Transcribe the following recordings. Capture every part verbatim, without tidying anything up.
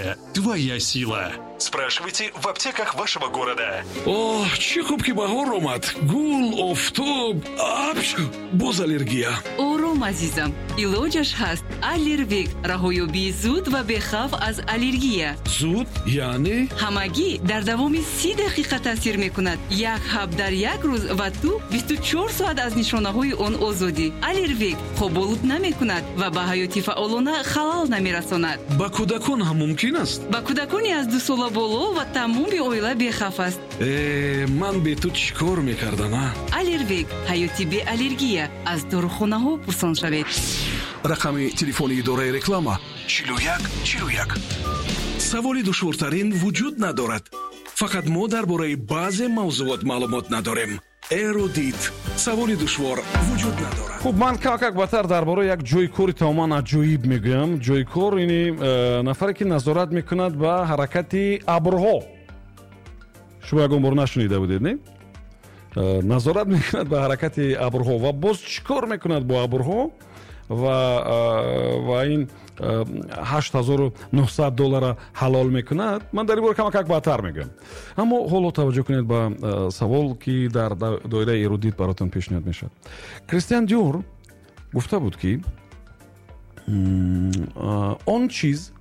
Здоровье – твоя сила. Спрашивайте в аптеках вашего города. Оҳ, чӣ хуб, ки баҳор омад! Гул, офтоб, апчу! Боз аллергия. Ором, азизам, илоҷаш ҳаст. Аллервек — раҳоёбии зуд ва бехавф аз аллергия. Зуд яъне? Ҳамагӣ дар давоми си дақиқа таъсир мекунад. Як ҳаб дар як рӯз ва ту бисту чор соат аз нишонаҳои он озодӣ. Аллервек хоболуд намекунад ва ба ҳаёти фаъолона халал намерасонад. Ба кӯдакон ҳам мумкин аст? Ба кӯдакони аз дусола боло ва тамоми оила бехавф аст. Э, ман бе ту чӣ кор мекардам, а? Аллервек — ҳаёти беаллергия. Аз дорухонаҳо пурсон шавед. Рақами телефони идораи реклама: чилу як чилу як. Саволи душвортарин вуҷуд надорад, фақат мо дар бораи баъзе мавзуот маълумот надорем. Эрудит: саволи душвор вуҷуд надорад. Хуб, ман камакак баъдтар дар бораи як ҷои кори тамоман аҷоиб мегӯям. Ҷои кор ини э, нафаре, ки назорат мекунад ба ҳаракати абрҳо. Шумо ягон бор нашунида будед, не? э, назорат мекунад ба ҳаракати абрҳо ва боз чӣ кор мекунад бо абрҳо ва э, ва ин ҳашт ҳазору нӯҳсад доллара ҳалол мекунад, ман дар ин бора камакак баъдтар мегӯям. Аммо ҳоло таваҷҷӯҳ кунед ба савол, ки дар доираи Эрудит баротон пешниҳод мешавад. Кристиан Диор гуфта буд, ки он чиз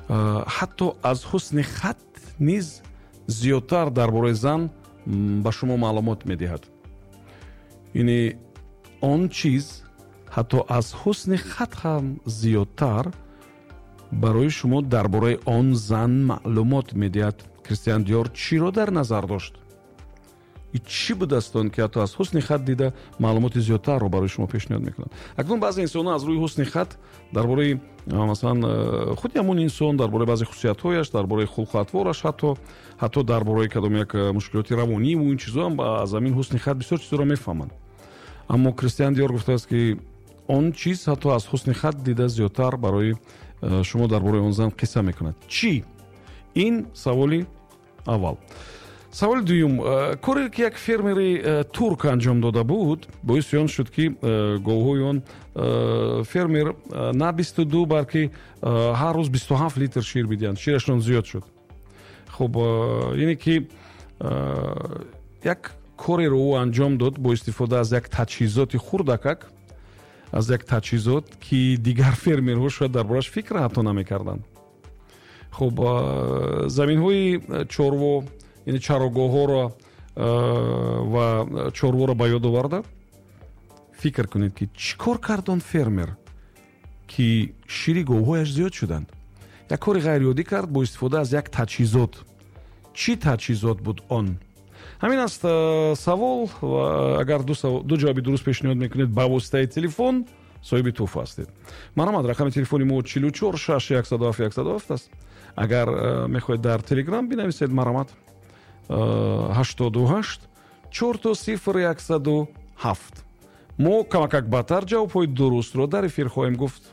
ҳатто аз ҳусни хат низ зиёдтар дар бораи зан ба шумо маълумот медиҳад. Яъне он чиз ҳатто аз ҳусни хат ҳам зиёдтар барои шумо дар бораи он зан маълумот медиҳад. Кристиан Диор чиро дар назар дошт? Чӣ будааст он, ки ҳатто аз ҳусни хат дида маълумоти зиёдтарро барои шумо пешниҳод мекунад? Акнун баъзе инсонҳо аз рӯи ҳусни хат дар бораи, масалан, худи ҳамон инсон, дар бораи баъзе хусусиятҳояш, дар бораи хулқу атвораш, ҳатто ҳатто дар бораи кадом як мушкилоти равониву ин чизо ҳам аз ҳамин ҳусни хат бисёр чизоро мефаҳманд. Аммо Кристиан Диор гуфтааст, ки он чиз ҳатто аз ҳусни хат дида зиёдтар барои шумо дар бораи он зан қисса мекунад. Чӣ ин? Саволи аввал. Саволи дуюм: коре, ки як фермери турк анҷом дода буд, боиси он шуд, ки говҳои он фермер на бисту ду, балки ҳар рӯз бисту ҳафт литр шир бидиҳанд. Ширашон зиёд шуд. Хуб, ине ки як кореро ӯ анҷом дод бо истифода аз як таҷҳизоти хурдакак, аз як таҷҳизот, ки дигар фермерҳо шояд дар борааш фикр ҳатто намекарданд. Хуб, заминҳои чорво, яъне чарогоҳҳоро ва чорворо ба ёд оварда, фикр кунед, ки чӣ кор кард он фермер, ки шири говҳояш зиёд шуданд. Як кори ғайриоддӣ кард бо истифода аз як таҷҳизот. Чӣ таҷҳизот буд он? Ҳамин аст савол. Агар ду ҷавоби дуруст пешниҳод мекунед ба воситаи телефон, соҳиби тӯҳфа ҳастед. Марҳамат, рақами телефони мо чилу чор шаш яксаду ҳафт яксаду ҳафт аст. Агар мехоҳед дар Телеграм бинависед, марҳамат, ҳаштоду ҳашт чорто сифр яксаду ҳафт. Мо камакак баъдтар ҷавобҳои дурустро дар эфир хоҳем гуфт.